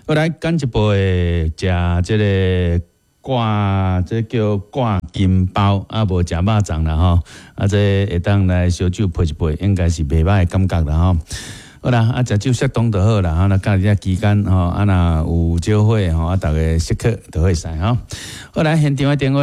好來，緊一步的食這個掛，這個叫掛金包，啊無食肉粽啦吼，啊這會當來燒酒陪一陪，應該是袂䆀的感覺啦吼。好啦，啊食酒適當就好啦，啊若假日期間吼，啊若有酒會吼，啊逐家適可就會使吼。好來，現場的電話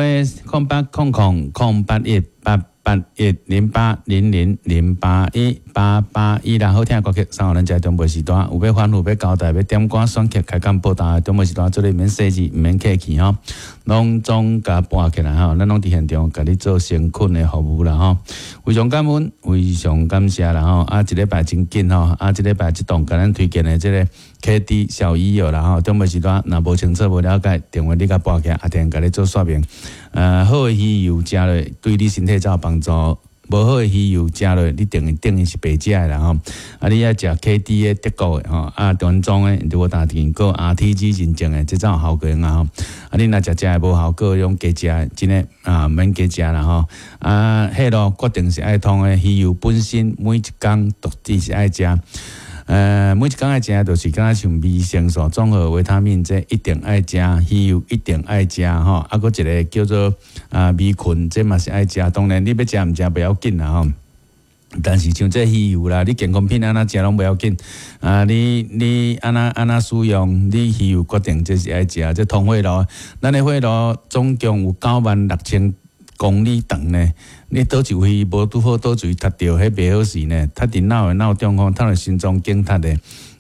080000081881080081，啦，好聽的歌曲送予咱這長輩時段，有欲反覆欲交代，欲點歌選曲開講報答，長輩時段做你免細緻，毋免客氣吼，攏總共撥起來吼，咱攏佇現場共你做誠懇的服務啦吼，非常感恩，非常感謝啦吼，啊一禮拜真緊吼，啊這禮拜這檔共咱推薦的這個 KD 小魚油啦吼，長輩時段若無清楚無了解，電話你共撥起來，阿定共你做說明。好的魚油食落對你身體才有幫助，無好的魚油食落，你等於等於是白食的啦吼。啊，你愛食 KD 的德國的吼，啊原裝的，無打經過 RTG 認證的，這才有效果啊吼。啊，你若食食的無效果，用加食的，真的啊免加食啦吼。啊，血路決定是愛通的，魚油本身每一工都只是愛食。每一工愛食，就是敢若像維生素、綜合維他命，這一定愛食，魚油一定愛食吼。啊，閣一個叫做啊 B 群，這嘛是愛食。當然你欲食毋食袂要緊啦吼。但是像這魚油啦，你健康品按怎食攏袂要緊啊！你按怎按怎使用，你魚油決定這是愛食。這通血路，咱的血路總共有96,000公里長呢，你佗一位無拄好，佗一位塞著，彼袂好勢呢。塞佇腦的腦中風，塞佇心臟梗塞的，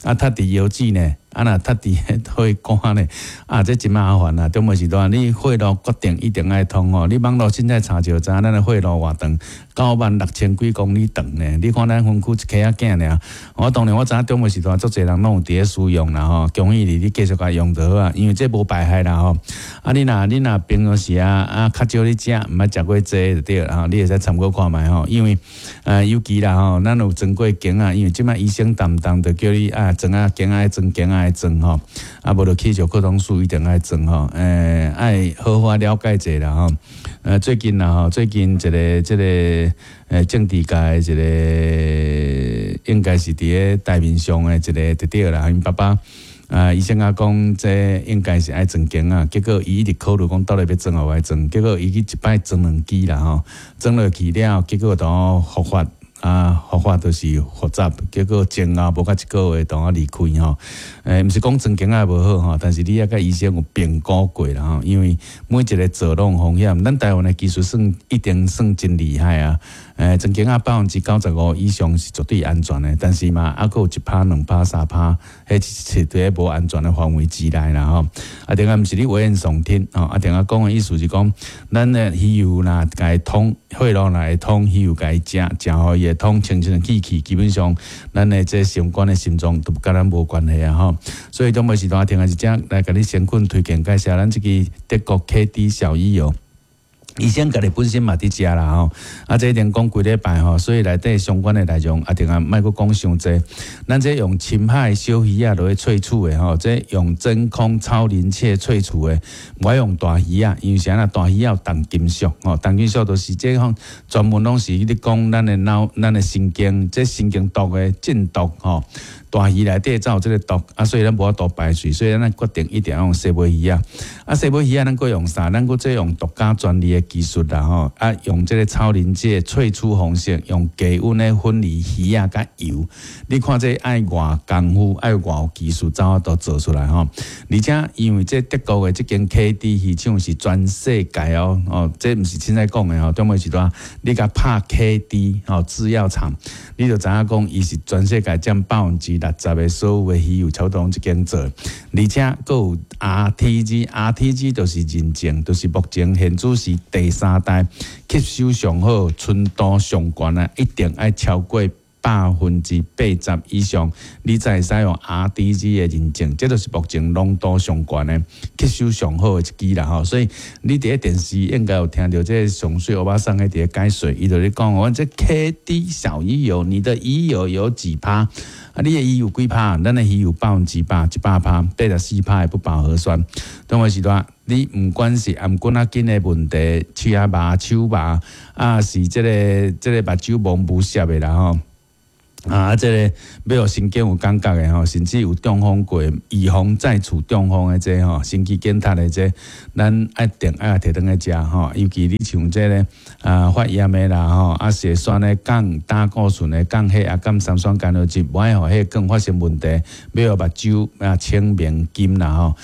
啊，塞佇腰子呢，啊，若塞佇彼血管呢，啊，這真麻煩啊！中無時段，你血路決定一定愛通吼。你網路凊彩查就知影，咱的血路偌長，96,000幾公里長呢。你看咱分區一溪仔囝爾，我當然我知影中無時段足濟人攏有佇咧使用啦吼。恭喜你，你繼續共用就好啊，因為這無排害啦吼。啊，你若平常時啊啊較少咧食，毋愛食過濟就對啦吼。你會使參考看覓吼，因為尤其啦吼，咱有裝過鏡仔，因為這擺醫生動動就叫你啊裝啊鏡愛裝鏡愛裝吼，啊無就去石擴張術一定愛裝吼，愛好好了解者啦吼。最近啦吼，最近一個這個政治界一個應該是佇咧台面上的一個弟弟啦，𪜶爸爸。啊，醫生啊講，這應該是愛裝鏡啊，結果伊一直考慮講到底欲裝抑無愛裝，結果伊去一擺裝兩支啦吼，裝落去了，結果都復發啊，復發就是複雜，結果前後無到一個月就離開吼。毋是講裝鏡仔無好吼，但是你愛共醫生有評估過啦吼，因為每一個做攏有風險，咱台灣的技術算一定算真厲害啊。裝鏡仔95%以上是絕對安全的，但是嘛，猶閣有1趴、2趴、3趴，彼是佇咧無安全的範圍之內啦吼。啊，定啊，毋是你危言聳聽吼，啊，定啊講的意思是講，咱的魚油若共伊通，血路若會通，魚油共伊食，食予伊會通清清氣氣，基本上咱的這相關的心臟都佮咱無關係啊吼。所以，中晡時段聽的是這來共你先困推薦介紹咱這支德國 KD 小魚油。醫生家己本身嘛佇食啦吼，啊，這一定講幾禮拜吼，所以內底相關的內容啊，定啊莫閣講傷濟。咱這用深海小魚仔落去萃取的吼，這用真空超臨界萃取的，無愛用大魚仔，因為啥啦？大魚仔有重金屬吼，重金屬就是這項專門攏是咧講咱的腦、咱的神經，這神經毒的中毒吼。大魚內底才有這個毒啊，所以咱無法度排除，所以咱決定一定要用細尾魚仔。啊，細尾魚仔咱閣用啥？咱閣這用獨家專利的技術啦吼，啊，用這個超臨界萃取方式，用低溫的分離魚仔佮油。你看這愛偌功夫，愛偌有技術，才有法度做出來吼。而且因為這德國的這間 KD 魚廠是全世界哦，哦，這毋是凊彩講的吼，中尾時段你共拍 KD 吼製藥廠，你就知影講伊是全世界佔60%的所有的魚油，差不多攏這間做，而且閣有 RTG，RTG 就是認證，就是目前現主時第三代吸收上好、純度上懸的，一定愛超過80%以上，你才會使用 RTG 的認證，這就是目前濃度上懸的、吸收上好的一支啦吼。所以你佇咧電視應該有聽著這個上媠歐巴桑佇咧解說，伊就咧講，阮這 KD 小魚油，你的魚油有幾趴？啊，你的魚油幾趴？咱的魚油100，100趴，84趴的不飽和酸。當個時段，你毋管是頷頸仔筋的問題，喙仔麻、手麻，啊是這個目睭蒙霧澀的啦吼。啊，這个欲予神經有感覺的吼，甚至有中風過，預防再次中風的這吼，心肌梗塞的這，咱一定愛提轉來食吼。尤其你像這个發炎的啦吼，血栓的降膽固醇的降血壓、降三酸甘油酯，無愛予血管發生問題，欲予目睭清明金啦吼。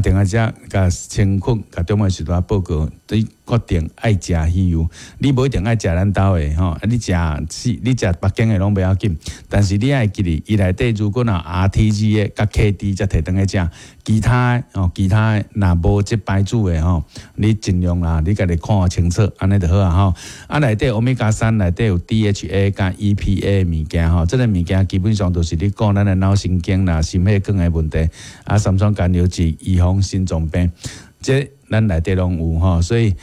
定愛食共清困，共中午時段報告，你決定愛食魚油，你無一定愛食咱兜的吼，你食是，你食別間的攏袂要緊，但是你愛記得，伊內底如果若 RTG 的佮 KD 才提轉來食，其他的哦，其他的若無這牌子的吼，你盡量啦，你家己看清楚，按呢就好啊吼。內底歐米伽三內底有 DHA 佮 EPA 的物件吼，這个物件基本上就是咧顧咱的腦神經啦、心血管的問題，三酸甘油酯預防心臟病，這咱內底攏有吼，所以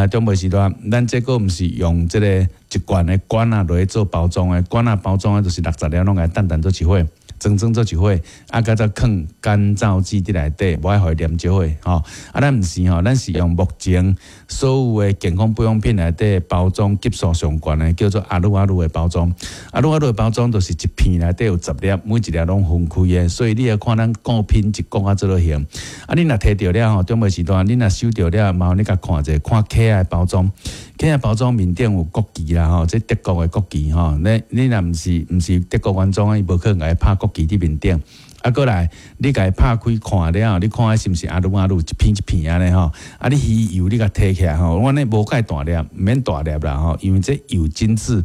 中午時段，咱這閣毋是用這个一罐的罐仔落去做包裝的，罐仔包裝的就是60粒攏共等等做一伙，裝裝做一伙，閣再囥乾燥劑佇內底，無愛予伊黏做伙吼。咱毋是吼，咱是用目前所有的健康保養品內底包裝級數上懸的，叫做阿魯阿魯的包裝。阿魯阿魯的包裝就是一片內底有10粒，每一粒攏分開的，所以你會看咱顧品質顧啊做落型。你若提著了吼，中午時段你若收著了，麻煩你共看者，看盒仔的包裝，盒仔包裝面頂有國旗啦吼，這德國的國旗吼，你若毋是德國原裝，伊無可能共伊拍國旗佇面頂。過來，你共伊拍開看了，你看彼是毋是阿魯阿魯一片一片按呢吼？你魚油你共提起來吼，我呢無蓋大粒，毋免大粒啦吼，因為這油精緻，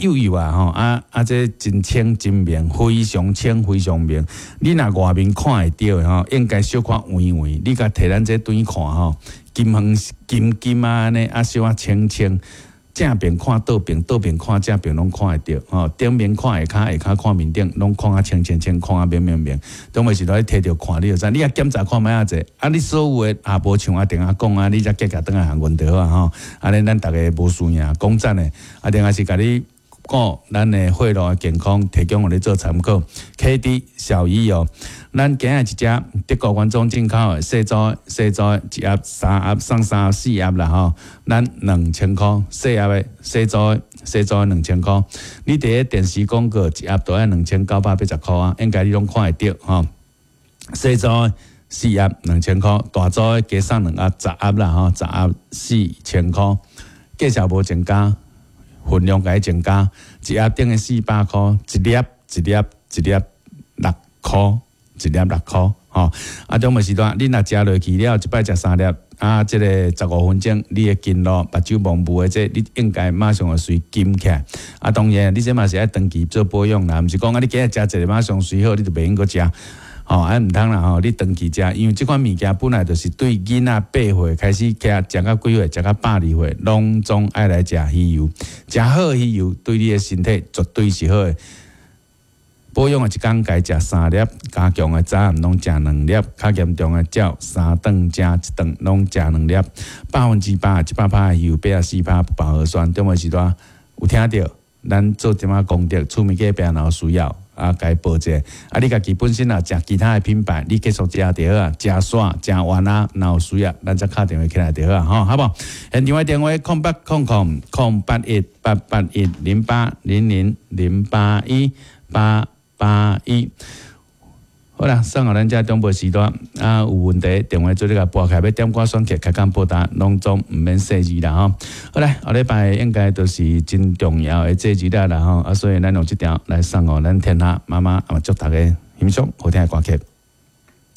幼幼啊吼，這真清真明，非常清非常明。你若外面看會著的吼，應該小可圓圓，你共提咱這轉看吼，金黃金金啊按呢，小可清清。正邊看倒邊，倒邊看正邊，攏看會著吼。頂面看下跤，下跤看面頂，攏看啊清清清，看啊明明明。中午時陣你提著看，你就知。你也檢查看覓仔濟，你所有的也無像阿定仔講啊，你才寄共轉來函阮就好啊吼。按呢咱逐家無輸贏，講真的，另外是共你顧咱的血路的健康，提供予你做參考。KD 小魚油，咱今日一隻德國原裝進口的細組細組一盒三盒送三盒四盒啦吼，咱2000箍細盒的細組細組2000箍。你佇咧電視廣告一盒都愛2980箍啊，應該你攏看會著吼。細組四盒2000箍，大組加送兩盒十盒啦吼，10盒4000箍，價錢無增加。份量共伊增加，一盒等於400箍，一粒一粒一粒6箍，一粒6箍，吼。中午時段，你若食落去了，一擺食三粒，這个15分鐘，你的筋肉、目睭蒙霧的這，你應該馬上會隨金起來。當然，你這嘛是愛長期做保養啦，毋是講你今日食一个馬上隨好，你就袂用閣食。吼，毋通啦吼，你長期食，因為這款物件本來就是對囡仔8歲開始食，食到幾歲，食到102歲，攏總愛來食魚油，食好魚油對你的身體絕對是好的。保養的一工該食三粒，加強的早暗攏食兩粒，較嚴重的照三頓食一頓攏食兩粒，100%100趴的魚油84趴不飽和酸，中午時段有聽著？咱做這馬功德，出門去病人有需要。共伊報者，你家己本身若食其他的品牌，你繼續食就好啊，食煞食完啊，若有需要，咱再敲電話起來就好啊，吼，好無？現場的電話0800 081 881 0800 081 881。好啦，送予咱遮長輩時段，有問題電話做你共撥開，欲點歌選曲開講報答，攏總毋免細膩啦吼。好啦，後禮拜應該都是真重要的節日啦吼，所以咱用這條來送予咱天下媽媽，祝大家欣賞好聽的歌曲。